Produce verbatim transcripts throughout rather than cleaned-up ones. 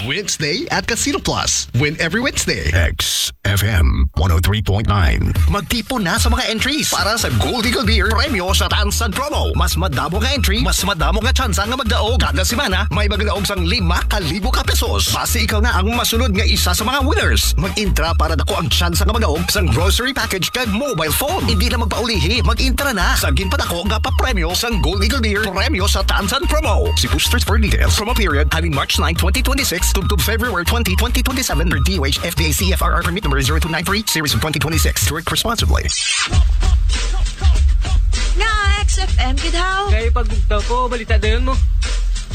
Wednesday at Casino Plus. Win every Wednesday. X F M one oh three point nine. Magtipon na sa mga entries para sa Gold Eagle Beer Premyo sa Tansan Promo. Mas madamo nga entry, mas madamo nga tsansa nga magdaog. Kada semana, may magdaog sang lima ka libo ka pesos. Basi ikaw na ang masunod nga isa sa mga winners. Mag-intra para dako ang tsansa nga magdaog sang grocery package kag mobile phone. Hindi na magpaulihi, mag-intra na sa ginpadako nga papremyo sang Gold Eagle Beer Premyo sa Tansan Promo. See posters for details. Promo period halin March nine, twenty twenty-six, tubtob February twenty, twenty twenty-seven, per D O H F D A C F R R permit number zero two nine three, series of twenty twenty-six. Drink responsibly. Nga X F M gid haw. Kay pag bugtaw ko, balita dayon mo.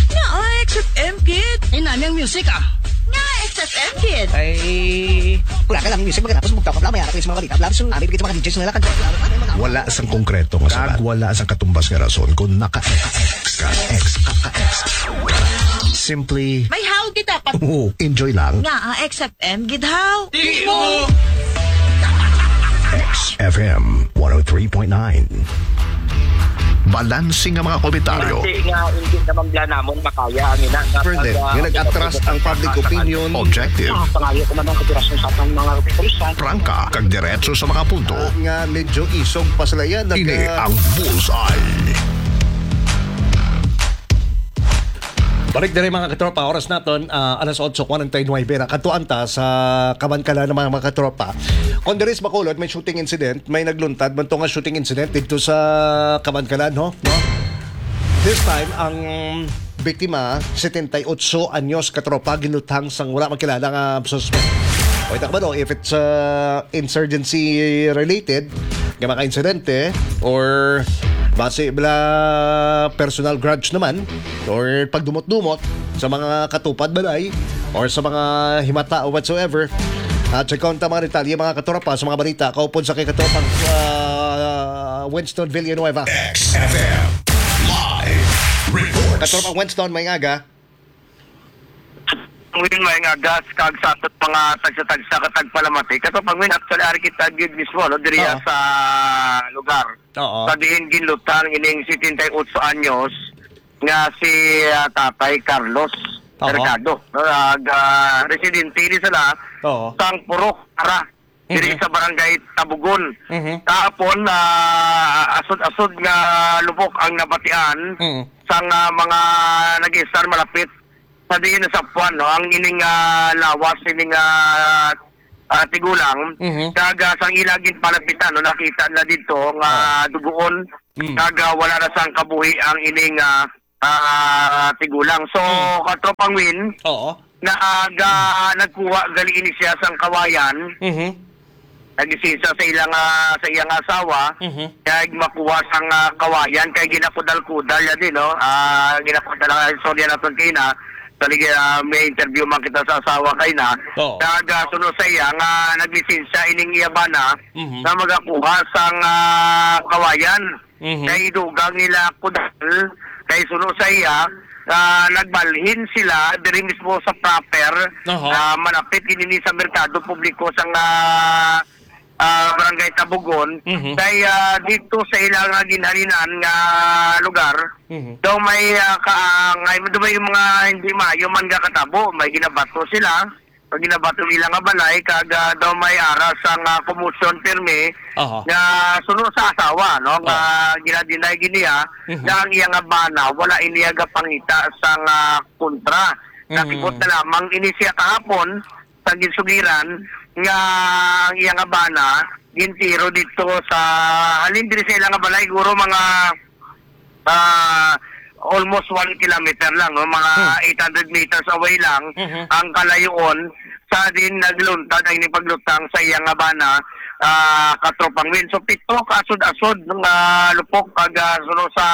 Nga X F M gid. Ay, nami ang music, ah. Nga X F M gid. Ay, wala ka lang music, magkatapos bugtaw ka, wala, may harap sa mga balita. Wala, so, abi, bigay sa mga D Js nila, kanta, wala, wala, wala. Wala sang konkreto nga sabat. Kag wala sang katumbas nga rason kung naka-X ka, X ka, X. Simply, may haw kita pa. Oo, enjoy lang. Nga, ah, X F M gid haw. Di mo. X F M one oh three point nine. Balanse nga mga komentaryo. Basi nga hindi naman bla namon makaya ang ina nga Further, pag, ah, nga nag-atras ang public opinion. Objective. Ah, pangayo ko man ang kooperasyon sa atong mga kapulisan. Prangka, kag diretso sa mga punto. Ah, nga medyo isog pa sila yan. Ini ang Bullseye. Balik diri, mga katropa, oras naton, ah, alas otso kwarenta y nuebe na. Kadtuan ta sa Kabankalan, mga, mga katropa. Kon diri sa Bacolod, may shooting incident, may nagluntad man to nga shooting incident didto sa Kabankalan, ho? No? This time, ang biktima, setenta y ocho anyos, katropa, ginluthang sang wala makilala nga suspect. O, ita ka ba, no? If it's, uh, insurgency related nga mga insidente, or basi bala personal grudge naman, or pagdumot-dumot sa mga katupad balay, or sa mga himata o whatsoever, at check ta mga detalye, mga katropa, sa mga balita kaupod sa kay katropang, uh, Winston Villanueva. X F M Live Report. Katropang Winston, may aga. Pangwin, may nga gas kag sa aton mga tagsa-tagsa ka tagpalamati. Kato, Pangwin, actually, ari kita gid mismo, no, diri Oo. sa lugar. Oo. Sa diin ginlutang ining setenta y ocho anyos nga si, ah, Tatay Carlos Aha. Mercado, no, nag, ah, residente ini sila Oo. sang Purok Ara, diri Mhm. sa Barangay Tabugon. Mhm. Kahapon, ah, asod-asod nga lubok ang nabatian Mhm. sang, ah, mga nag-istar malapit sa diin nasapwan, no, ang ining, ah, lawas, ining, ah, ah, tigulang. Mhm. Kag, ah, sang ila ginpalapitan, no, nakita na didto nga Oh. duguon. Mm. Kag, ah, wala na sang kabuhi ang ining, ah, ah, tigulang. So, Mm. Katropang Win, Oo. naaga, nagkuha gali ini siya sang kawayan. Mhm. Naglisensiya sa ila nga, sa iyang asawa, Mhm. kay makuha sang, ah, kawayan, kay ginakudal-kudal niya din, no? Ah, ginakudal ang istorya naton kay na, sa ligi, ah, may interview man kita sa asawa kay na. Oo. Kag, ah, suno sa iya nga naglisensiya ining iya bana Mhm. nga magakuha sang, ah, kawayan. Mhm. Kay dugang nila kudal, kay suno sa iya, ah, nagbalhin sila diri mismo sa proper, Aha. ah, malapit ini ni sa merkado publiko sang, ah, ah, Barangay Tabugon. Mhm. Kay, ah, dito sa ilang ginhalinan nga lugar, Mhm. daw may, ah, kaangay, daw may mga hindi maayo man nga katabo, may ginabato sila. Pag ginabato nila nga balay, kag, ah, daw may ara sang, ah, commotion pirmi Aha. nga suno sa asawa, no, nga Aha. gina-deny gid niya Mhm. nga ang iya nga bana wala ini nga pangita sang, ah, kontra. Mhm. Nakibot na lamang ini siya kahapon sa ginsugiran nga ang iya nga bana gintiro dito sa halin diri sa ila nga balay, guro mga ah, almost one kilometer lang, no? Mga Hmm. eight hundred meters away lang Mhm. ang kalayoon sa din nagluntad ang ining paglutang sa iya nga bana, ah, Katropang Win. So, pito ka asod-asod nga lupok kag, ah, suno sa,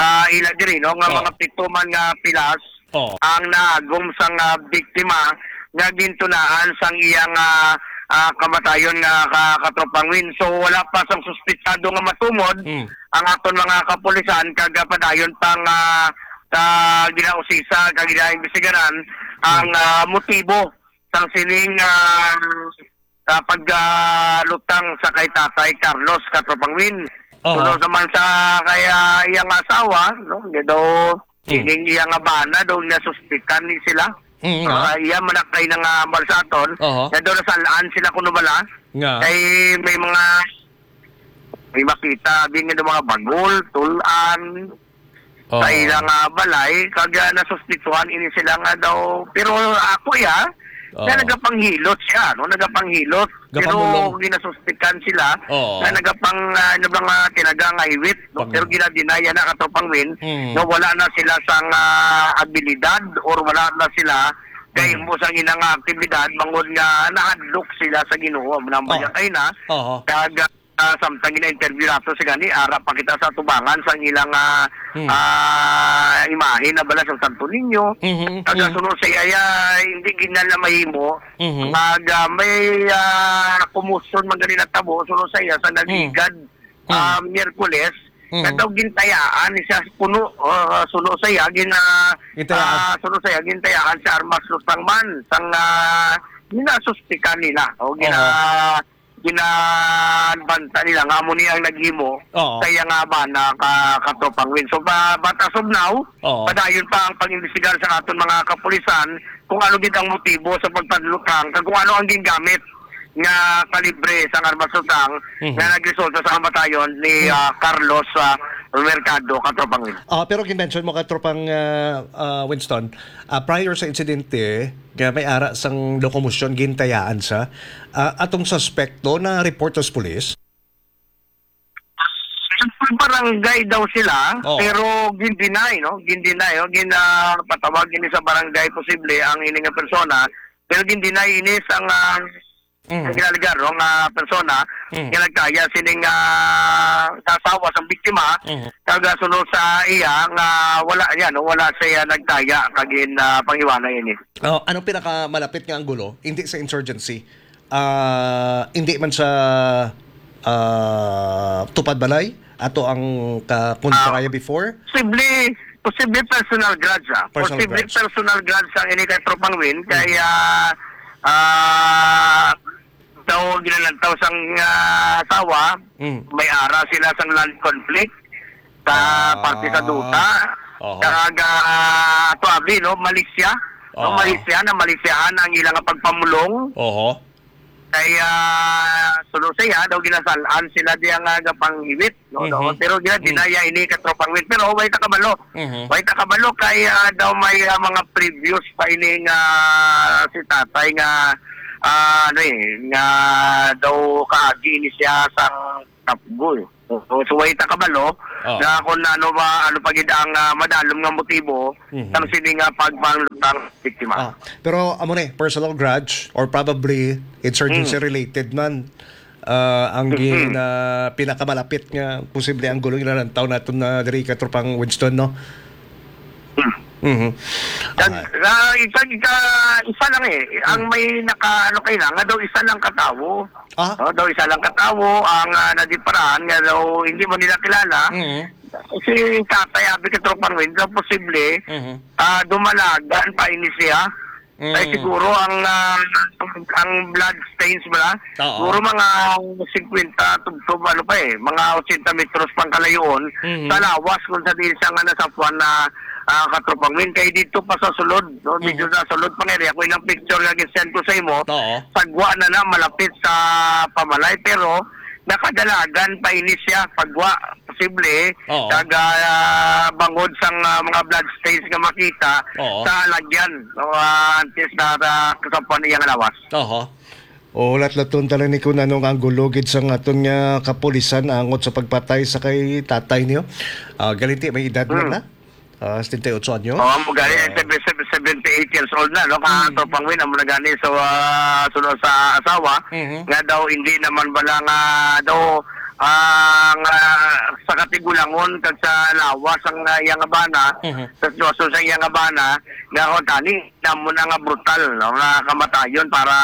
ah, ila diri, no? Nga Oh. mga pito man nga pilas Oh. ang naagom sang, ah, biktima nga gintunaan sang iyang, ah, ah, kamatayon nga ka-, Katropang Win. So, wala pa sang suspetsado nga matumod Hmm. ang aton mga kapulisan kag, ah, padayon pang, ah, ah, ginausisa kag ginaimbestigaran ang, Hmm. ah, motibo sang sining, ah, ah, pag, ah, lutang sa kay Tatay Carlos, Katropang Win. Oo. Suno naman sa kay, ah, iyang asawa, no? Nga daw, Hmm. ining iya nga bana, daw nasuspikan ni sila. Mm, nga. Ah, iya man na kay nangambal sa aton, Oho. nga daw nasalaan sila kuno bala. Nga. Kay may mga, may makita, abi nga mga bagol, tul-an, Oo. sa ilang, ah, balay, kag, ah, nasuspitsuhan ini sila nga daw. Pero ako, iya, nga Oo. nagapanghilot siya, no? Nagapanghilot. Pero Gapamulong. ginasuspikan sila Oo. nga nagapang, ah, ano ba nga, tinaga nga hiwit, no? Pang- Pero ginadinaya na, Katropang Win, Mm. nga wala na sila sang, ah, abilidad or wala na sila kay Mm. mo sang ilang aktibidad, bangod nga nahadlok sila sa Ginoo. Amo na ang Oo. bayakay na, Oo. kag, ah, samtang gina-interview nato si gani, ara pa kita sa tubangan sang ilang, ah, Mm. ah, imahe na bala sa Santo Niño. Mhm, Kag mhm. sunod sa iya, hindi gid na mahimo. Mhm. Kag, ah, may, ah, commotion man gani natabo, sunod sa iya, sa Mm. nagligad, Mm. ah, Miyerkules, Mm. nga daw gintayaan siya puno, ah, sunod sa iya, gina-, Gintayaan. ah, sunod sa iya, gintayaan si Armas Lutang man, sang, ah, ginasuspikan nila, o gina-, Oho. ginabanta nila nga amo ni ang naghimo Oo. sa iya nga bana ka, Katropang Win. So, ba-, but as of now, Oo. padayon pa ang pag-imbestigar sa aton mga kapulisan kung ano gid ang motibo sa pagpadlutang kag kung ano ang gingamit nga kalibre sang armas lutang Mhm. nga nagresulta sa kamatayon ni, Hmm. ah, Carlos, ah, Mercado, Katropang Win. Ah, pero gin-mention mo, Katropang, ah, ah, Winston, ah, prior sa insidente, nga may ara sang lokomosyon, gintayaan sa, ah, atong suspekto na report sa pulis? Sa barangay daw sila, Oo. pero gin-deny, no? Gin-deny, no? Gin-, ah, patawag ini sa barangay posible ang ini nga persona, pero gin-deny ini sang, ah, Mm. ang ginalegar, no, nga persona Mm. nga nagtaya sining, ah, sa asawa sang biktima, Mm. kag, ah, sunod sa iya nga wala niya, no, wala siya nagtaya kag gin, ah, panghiwalay ini. Oh, anong pinakamalapit nga anggulo? Hindi sa insurgency. Ah, hindi man sa, ah, tupad balay, ato ang kakontraya Ah, before? posible, posible personal grudge, ah. Personal Posible grudge. personal grudge ang ini kay Tropang Win, Mm. kay, ah, ah, daw ginalantaw sang, ah, asawa, Mm. may ara sila sang land conflict sa Ah. parte sa duta. Oho. Kag, ah, tuabi, no, Malaysia. No, Oo. Malaysia, na Malaysiahan ang ilang pagpamulong. Oho. Kay, ah, suno siya, daw ginasal-an sila diya nga gapanghiwit, no, no? Mhm. Pero gina-, Mm. dinaya ini, Katropang Win. Pero way ta kabalo. Mhm. Way ta kabalo kay, ah, daw may, ah, mga previous pa ini nga si tatay nga, ah, ano eh, nga daw kaagi ini siya sang Tapgo eh. So, so, way ta kabalo Oo. nga kung ano ba, ano pa gid ang, ah, madalom nga motibo Mhm. sang sini nga pagpanglutang biktima. Ah, pero amo ni, personal grudge or probably insurgency Mm. related man, ah, ang Mhm. gin-, ah, pinakamalapit nga posible ang gulong inalantaw naton na diri, Katropang Winston, no? Hmm. Mhm. Kag, Ah. ah, isa, isa, isa lang eh. Ang Hmm. may naka, ano kayo na, nga daw isa lang katawo. Ah? Oh, daw isa lang katawo ang, ah, nadiparahan nga daw hindi mo nila kilala. Mhm. Si tatay, abi ka, Tropang Win, daw posible, Mhm. ah, dumalagan pa ini siya. Ay, Mm. siguro ang, ah, ang, ang blood stains bala, Oo. siguro mga singkwenta tubtob, ano pa eh, mga ochenta metros pang kalayoon Mhm. sa lawas kung sa diin siya nga nasapuan na, ah, Katropang Win. Kay dito pa sa sulod, no? Medyo Mhm. sa sulod pang area. Kung ilang picture nga gisend ko sa imo, Oo. sagwa na na, malapit sa pamalay, pero nakadalagan pa ini siya, sagwa, posible, Oo. kag, ah, bangod sang, ah, mga blood stains nga makita Oo. sa lagyan, no, ah, antes na, na kasampuan niya nga lawas. Oho. O, hulat-laton ta lang ni kung anong anggulo gid sang aton nga kapulisan angot sa pagpatay sa kay tatay niyo. Ah, galinti, may edad man Hmm. na? Ah, setenta y ocho anyo? Oh, amo gani, Ah. seven-, seven-, seventy-eight years old na, no? Ka Hmm. Tropang Win, amo na gani sa, ah, sunod sa asawa, Mhm. nga daw hindi naman bala nga daw, ah, nga sa katigulangon kag sa lawas ang, ah, iyang abana, Mhm. sa sitwasyon sa iyang abana, nga kung tani, namo na nga brutal, no, nga kamatayon para,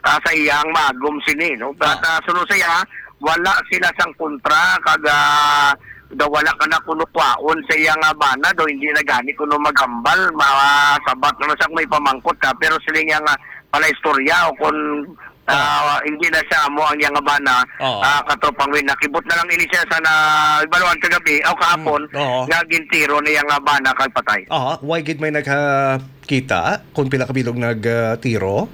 ah, sa iyang maagom sini, no? But, Ah. ah, sunod sa iya, wala sila sang kontra, kag, ah, daw wala ka na kuno kwaon sa iya nga bana, daw hindi na gani kuno maghambal, masabat na siya kung may pamangkot ka, pero sila niya nga pala istorya o kung Ah, hindi na siya amo ang iyang bana. Oo. Ah, katropang Win, nakibot na lang ini siya sa na, ibaluan kagabi o kahapon Mm, oo. nga gintiro niya nga bana kag patay. Aha, why gid may nagkita kung pila ka bilog nag, ah, tiro?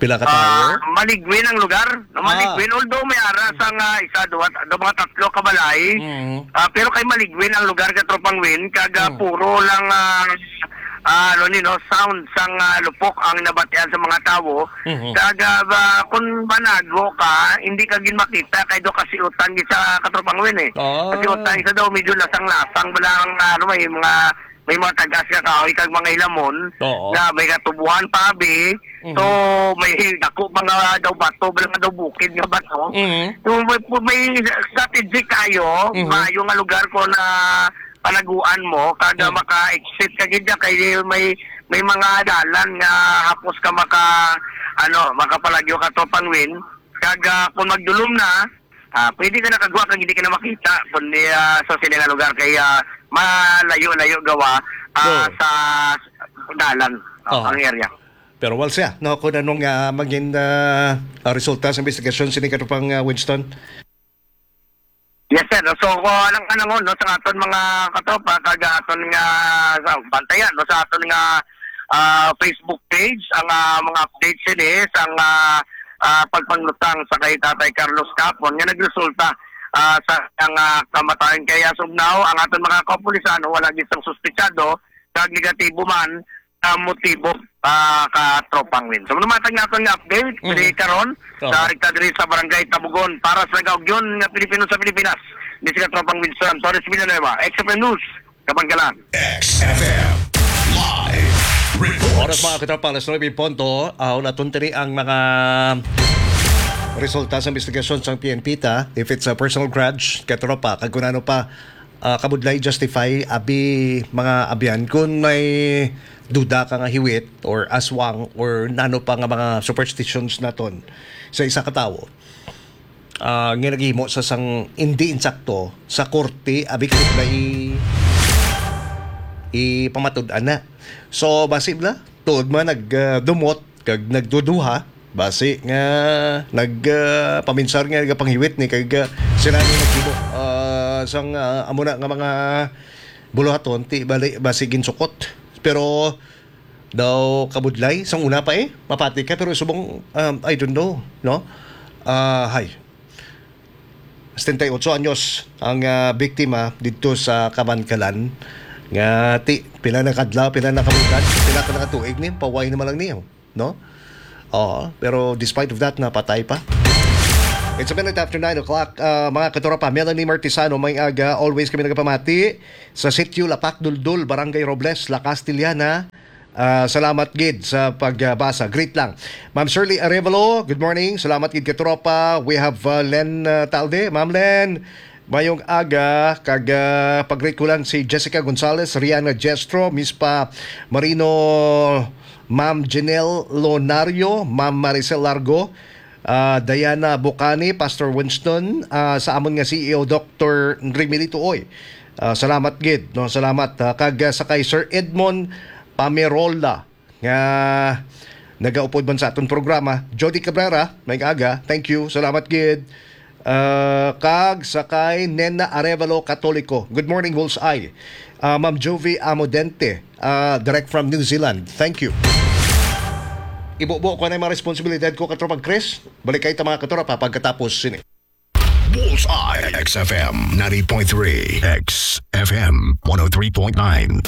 Pila ka Ah, tawo? Maligwin ang lugar. Ah. Maligwin, although may ara sa nga isa, duha, do mga tatlo ka balay. Mm. Ah, pero kay Maligwin ang lugar, katropang Win, kag, ah, Mm. puro lang, ah, ah, ano ni, no, sound sang, ah, lupok ang nabatian sa mga tawo. Mhm. Kag, ah, ba, kung manago ka, hindi ka gid makita kay do kasiutan gid sa, katropang Win, eh. Ah. Kasiutan isa daw, medyo lasang-lasang bala ang, ah, ano, may mga, may mga tagas nga kahoy kag mga hilamon Oo. nga may katubuhan pa, abi. Mhm. So, may dako pa nga daw bato, bala nga daw bukid nga bato. Mhm. So, may, may strategic kayo, Mhm. maayo nga lugar ko na panaguan mo, kada Mhm. maka-exit ka gid dyan, kay may, may mga dalan nga hapos ka maka, ano, makapalagyo ka to, Pangwin. Kag, ah, kung magdulom na, ah, pwede ka nakagwa kag hindi ka na makita, kundi, ah, sa sila nga lugar kay, ah, malayo-layo gawa, ah, Oo. sa dalan, ah, Oo. ang area. Pero wala siya, no, kung anong, ah, maging, ah, ah, resulta sa investigasyon sini katropang, ah, Winston? Yes, sir. So, kung anong, anong, no, sa aton mga katropa, kag aton nga, sa, bantayan, no, sa aton nga, ah, Facebook page, ang, ah, mga updates sini, sa, ah, ah, pagpanglutang sa kay Tatay Carlos Capon, nga nagresulta, ah, sa, ang, ah, kamatayon kay as of now, ang aton mga kapulisan, wala gid sang suspetsado, kag negatibo man, ah, motibo, ah, katropang Win. So, manumatag naton nga update, Mhm. diri karon, Oo. sa rekta diri sa Barangay Tabugon. Para sa Gaugyon nga Pilipino sa Pilipinas, ni si katropang Winston Torres Villanueva, X F M News, Kabangalan. X F M Live Reports. Oras, mga katropa, alas nuebe punto. Ah, naton tiri ang mga resulta sa investigasyon sang P N P ta. If it's a personal grudge, katropa, kag kung ano pa, ah, kabudlay, justify, abi, mga abyan, kung may duda ka nga hiwit or aswang or nano pa nga mga superstitions naton sa isa ka tawo, ah, nga naghimo sa sang hindi insakto sa korte, abi, kabudlay i-, ipamatud-an na. So, basi bala, tuod man nag, ah, dumot, kag nagduduha, basi nga nag, ah, paminsar nga nagapanghiwit ni kag, ah, sila ni naghimo, ah, sang, ah, amo na nga mga buluhaton, ti bali, basi ginsukot. Pero daw kabudlay, sang una pa eh, mapati ka, pero subong, um, I don't know, no? Ah, hay. Setenta y ocho anyos ang, ah, biktima didto sa Kabankalan. Nga ti, pila na kadlaw, pila na kabulan, pila ka na ka tuig ni, paway naman lang niyo, no? Oo, pero despite of that, napatay pa. It's a minute after nine o'clock. Ah, mga katropa, Melanie Martisano, may aga, always kami nagapamati sa Sitio Lapak Duldul, Barangay Robles, La Castellana. Ah, salamat gid sa pagbasa. Greet lang. Ma'am Shirley Arevalo, good morning. Salamat gid, katropa. We have, uh, Len, uh, Talde. Ma'am Len, mayong aga. Kag, uh, pag-greet ko lang si Jessica Gonzalez, Rihanna Jestro, Miss Pa Marino, Ma'am Janelle Lonario, Ma'am Maricel Largo, ah, Diana Bocani, Pastor Winston, ah, sa amon nga C E O, Doctor Remilito Uy. Ah, salamat gid, no? Salamat, ah, kag, ah, sa kay Sir Edmond Pamerola nga nagaupod man sa aton programa, Jody Cabrera, may aga, thank you, salamat gid. Ah, kag sa kay Nena Arevalo Katoliko, good morning, Bullseye. Ah, Ma'am Juvie Amodente, ah, direct from New Zealand, thank you. Ibubo ko na yung mga responsibilidad ko, katropang Chris. Balik kayo ta, mga katropa, pagkatapos sini. Bullseye, X F M ninety point three, X F M one oh three point nine.